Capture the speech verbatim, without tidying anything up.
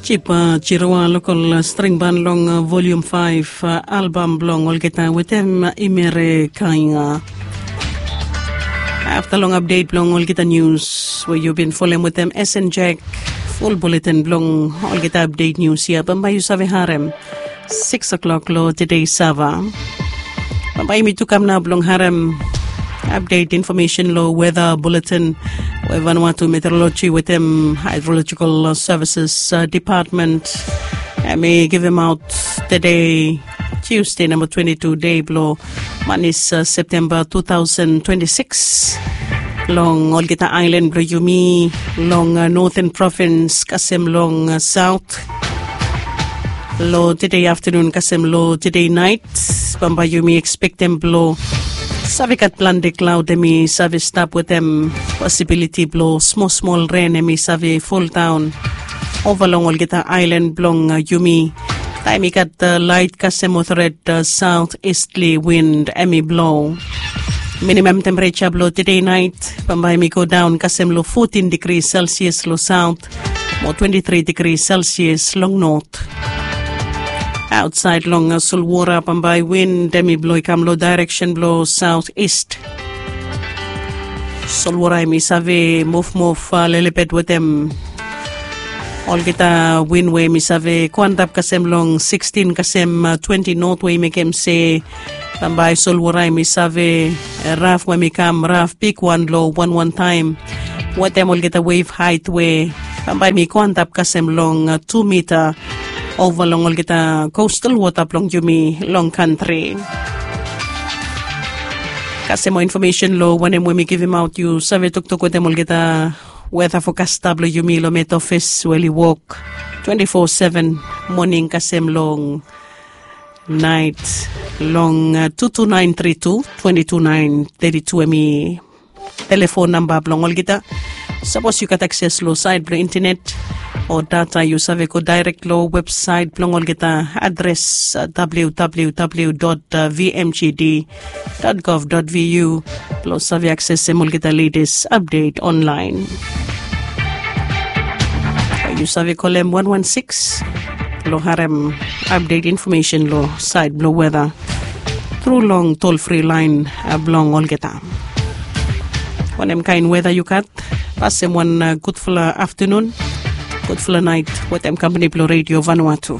Jipa Jiroa, lokol string ban long volium faef albam blong olgeta wetem Imere Kainga. Afta long apdet blong olgeta nius we yu bin folem wetem S N Jack, ful buletin blong olgeta apdet nius ya bambae yu save harem sikis o'klok long tede Sava. Bambae yumi tu kam nao blong harem apdet infomesen long weda buletin we Vanuatu Meteoroloji wetem Haedrolojikal Sevises Depatmen. Hemi givimaot tede Tiusde namba twenti tu dei blong manis Septemba tu taosen twenti sikis. Long olgeta aelan blong yumi long noten provins kasem long saot, long tede aftanun kasem long tede naet, bambae yumi ekspektem blong save gat plante klaod hemi save stap wetem posibiliti blong smol smol ren hemi save foldaon ova long olgeta aelan blong yumi. Taem i gat laet kasem motoret saot istli win hemi blo. Minimam tempereja blong tede naet bambae hemi godaon kasem long fotin digri Celsius long saot mo twenti tri digri Celsius long not. Aotsaed long solwora bambae win hemi blo i kam long daereksen blong saot ist. Solwora hemi save muvmuv lelebet wetem olgeta win we hemi save go antap kasem long sikstin kasem twenti not we i mekem se bambae solwora hemi save raf we hemi kam raf bigwan long wanwan taem wetem olgeta wef haet we bambae hemi go antap kasem long tu mita ova long olgeta kostal wota blong yumi long kantri. Kasem moa infomesen long wanem we mi givimaot yu save toktok wetem olgeta weta fokasta blong yumi long met ofis we oli wok twenti fo seven, moning kasem long naet, long tu tu naen tri tu twenti tu naen teti tu hemi telefon namba blong olgeta. Sapos yu gat akses long saet blong intenet o data yu save go daerek long websaet blong olgeta adres www vmgd gov vu blong save aksesem olgeta letes apdet onlaen. Yu save kolem wan wan sikis blong harem apdet infomesen long saed blong weta tru long tolfri laen blong olgeta. Wanem kaen weta yu gat? Pasem wan gudfala aftanun, gudfala naet wetem kampani blong redio Vanuatu.